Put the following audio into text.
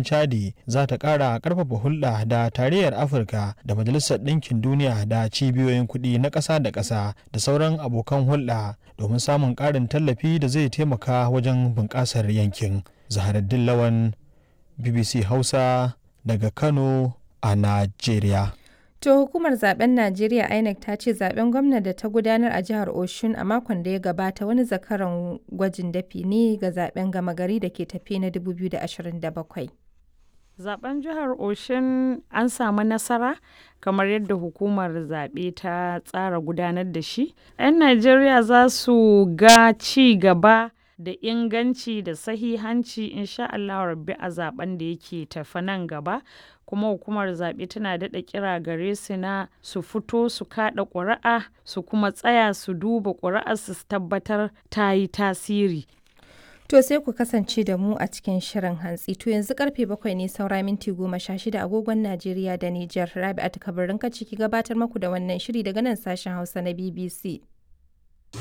Gwamnatin Chadi za ta ƙara ƙarfafa hulɗa da Tarayyar Afirka da Majalisar Ɗinkin Duniya da cibiyoyin kuɗi na ƙasa da ƙasa da sauran abokan hulɗa domin samun ƙarin tallafi da zai taimaka wajen bunƙasar yankin. Zaharaddin Lawan, BBC Hausa, daga Kano a Najeriya. To, hukumar zaben Najeriya INEC ta ce zaben gwamna da ta gudanar a jihar Oshun a makon da ya gabata wani zakaran gwajin dafi ne ga zaben gama gari da ke tafe na 2027. Zaben jihar Oshun an samu nasara kamar yadda hukumar zaɓe ta tsara gudanar da shi. 'Yan Najeriya za su ga ci gaba da inganci da sahihanci insha Allah rabbi a zaben da yake tafe nan gaba. Kuma hukumar zaɓe tana daɗa kira gare su na su fito su kaɗa ƙuri'a, su kuma tsaya su duba ƙuri'ar su tabbatar ta yi tasiri. To, sai ku kasance da mu a cikin shirin hantsi. To, yanzu karfe 7 ne saura minti 16 agogon Najeriya da Nijar. Rabi'atu Kabirin ciki gabatar maku da wannan shiri daga nan sashen Hausa na BBC.